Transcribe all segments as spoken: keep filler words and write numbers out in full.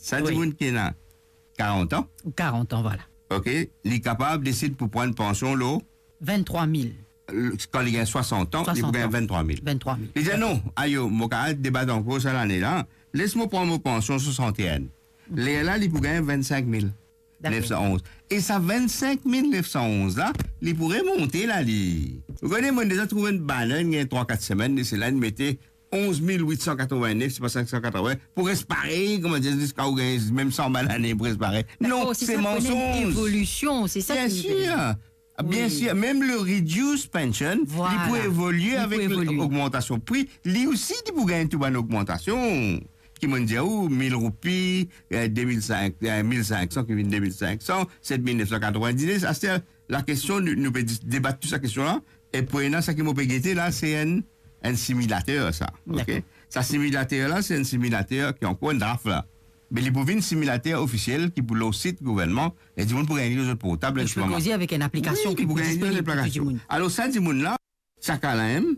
Sa dimoun ki ena karant an, karant an, vwala, ok, li kapav desid pou pran pansion lor venntrwa mil. Kan li gagn swasant an, li pou gagn venntrwa mil. Venntrwa mil. Li dir, "Non, ayo, mo kapav debat ankor sa lane la. Les mo pran mo pansion swasant-e-enn." Lerla, li pou gagn vennsenk mil nef san onz. E sa vennsenk mil nef san onz la, li pou remonte la, li. Ou kone, mo deza trouv enn banner, inn gagn trwa, kat semenn, e se la inn mete onz mil wit san katrovin-nef, se pa senk san katrovin, pou res parey, kouma dir, ziska ou gagn mem san bann lane, pou res parey. Non, se mansonz. Dakor, si sa pou ena enn evolision, se sa ki nou pe dir. Bien sir. Bien sir, mem le reduced pension, li pou evolie avek logmantasion pri, li osi, li pou gagn tou bann logmantasion. Ki mo'nn dir ou, mil roupi, eh, de mil senk, eh, mil senk san, ki vinn de mil senk san, set mil nef san katrovin-diz, aster, lakestion, nou, nou pe dis-, debat tou sa kestion la, e pou ena, sa ki mo pe gete la, se enn, enn similater, sa, ok? Dakor. Sa similater la, se enn similater ki ankor enn draf la. Me li pou vinn similater ofisiel ki pou lor sit gouvernman, e dimoun pou gagn li lor zot portab, enn ti moman. Donk, li pou koze avek enn aplikasion ki pou disponible pou tou dimoun. Wi, li pou gagn li lor enn aplikasion. Alor, sa dimoun la, sa ka la mem,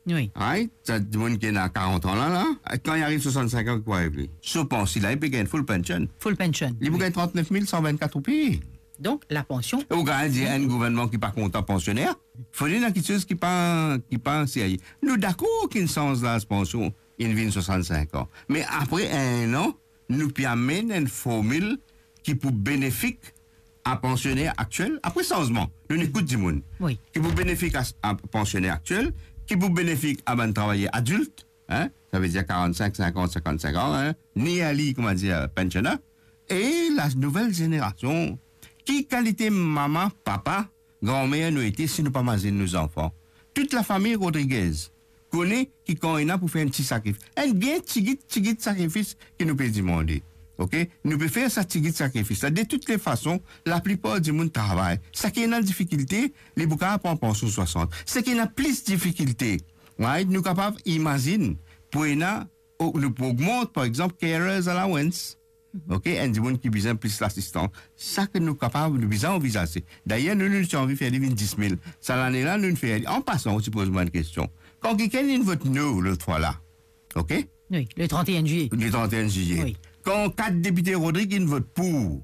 wi, right? Sa dimoun ki ena karant an la, la, kan li ariv swasant-senk an, ki pou ariv li? So pansion la, li pe gagn full pension. Full pension, wi. Li pou gagn trant-nef mil san vinn-kat roupi. Donk, lapansion. E ou kapav dir enn gouvernman ki pa kontan pansioner? Fode ena kiksoz ki pa, ki pa serye. Nou dakor ki inn sanz laz pansion, inn vinn swasant-senk an. Me apre enn an, nou pe amenn enn formil ki pou benefik a pansioner aktiel, apre sanzman, nou ekout dimoun. Wi. Ki pou benefik a, a pansioner aktiel, ki pou benefik a bann travayer adilt, hein, savedir karant-senk, sinkant, sinkant-senk an, hein, nearly, kouma dir, pensioner, e la nouvel zenerasion. Ki kalite mama, papa, granmer nou ete si nou pa mazinn nou zanfan? Tou lafami Rodriguez kone ki kan ena pou fer enn ti sakrifis, enn bien tigit, tigit sakrifis ki nou pe dimande. Ok? Nou pe fer sa tigit sakrifis la. De tou le fason, laplipar dimoun travay. Seki ena difikilte, li pou kapav pran pansion swasant. Seki ena plis difikilte, right? Nou kapav imazinn pou ena, o-, nou pou ogmant, par exanp, carers allowance. Ok, enn dimoun ki bizin plis lasistans. Sa ki nou kapav, nou bizin anvizaze. Dayer, nou, nou ti anvi fer li vinn dis mil. Sa lane la, nou fer li. An pasan, ou ti poz mwa enn kestion. Kan kikenn inn vot no lot fwa la, ok? Wi, le trant-e-enn zilie. Le trant-e-enn zilie. Wi. Kan kat depite Rodrig inn vot pou,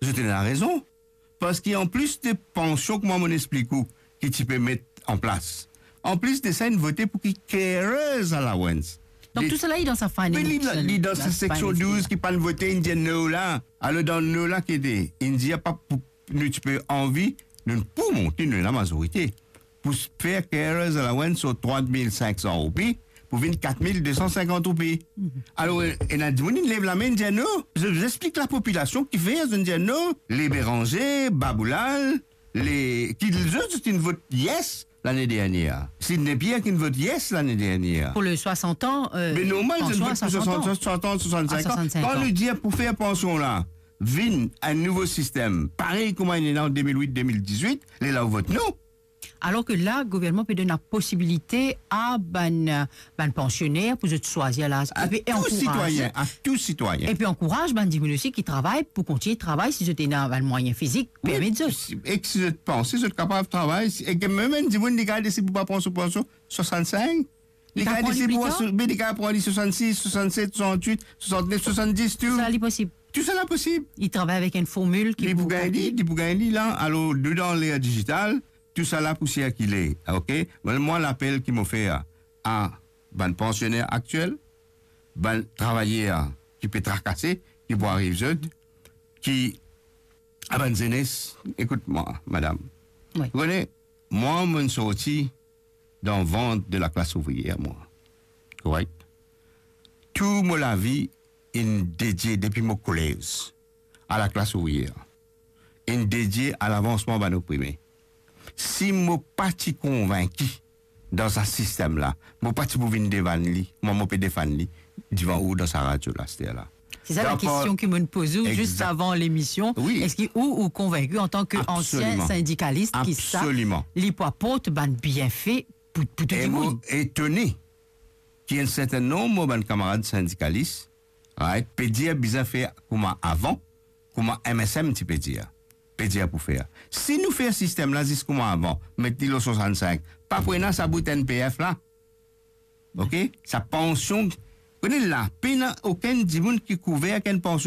zot ena rezon. Parski anplis de pansion, kouma mo'nn explik ou, ki ti pe met an plas, anplis de sa, inn vote pou ki carers allowance. Donk, tou sala li dan sa finance, li dan sa seksion douz ki pa'nn vote, inn dir no la. Alor, dan no la ki ete, inn dir pa pou, nou ti pe anvi, nou pou monte, nou ena mazorite pou s-, fer carers allowance so trwa mil sink san roupi pou vinn kat mil de san sinkant roupi. Alor, ena dimoun inn lev lame, inn dir no. Zot, zot explik lapopilasion kifer zot inn dir no. Les Bérenger, Baboulal, les, ki zot, zot inn vot yes lane dernier. Sidney Pierre ki inn vot yes lane dernier. Pou le swasant an, euh, pansion a swasant an. Me normal, zot inn vot pou swasant an, swasant an, swasant-senk an. Kan nou dir pou fer pansion la vinn enn nouvo sistem, parey kouma inn ena an de mil wit, de mil dizwit, lerla ou vot no. Alor ke la, gouvernman pe donn laposibilite a bann, bann pansioner pou zot swazir laz. A tou sitwayin, a tou sitwayin. Epi ankouraz bann dimoun osi ki travay pou kontign travay si zot ena bann mwayin fizik permet zot. Wi, e ki si zot panse zot kapav travay, si, e ki mem enn dimoun li kapav desid pou pa pran so pansion swasant-senk, li kapav desid pou pran so, me li kapav pran li swasant-sis, swasant-set, swasant-wit, swasant-nef, swasant-dis, tou. Tousala li posib. Tousala posib. Li travay avek enn formil ki pou gagn li, li pou gagn li la. Alor, nou dan ler dizital, tousala pou sirkile, ok? Mwa, mwa, lapel ki mo fer a bann pansioner aktiel, bann travayer ki pe trakase, ki pou ariv zot, ki, a bann zenes, ekout mwa, madam. Wi. Ou kone, mwa, mo'nn sorti dan vant de laklas ouvriyer, mwa. Korek? Tou mo lavi inn dedie depi mo kolez a laklas ouvriyer, inn dedie a lavansman bann oprime. Si mo pa ti konvinki dan sa sistem la, mo pa ti pou vinn defann li, mwa mo pe defann li divan ou dan sa radio la, aster la. Se sa lakestion ki mo'nn poz ou zis avan lemision. Wi. Eski ou, ou konvinki antan ke ansien sindikalis ki sa, li pou aport bann bienfe pou, pou tou dimoun? E mo etone ki enn serten nonb mo bann kamarad sindikalis, right, pe dir bizin fer kouma avan, kouma M S M ti pe dir, pe dir pou fer. Si nou fer sistem la zis kouma avan, met li lor swasant-senk, pa pou ena sa bout N P F la. Ok? Sa pansion, kone la, pena okenn dimoun ki kouver ek enn pansion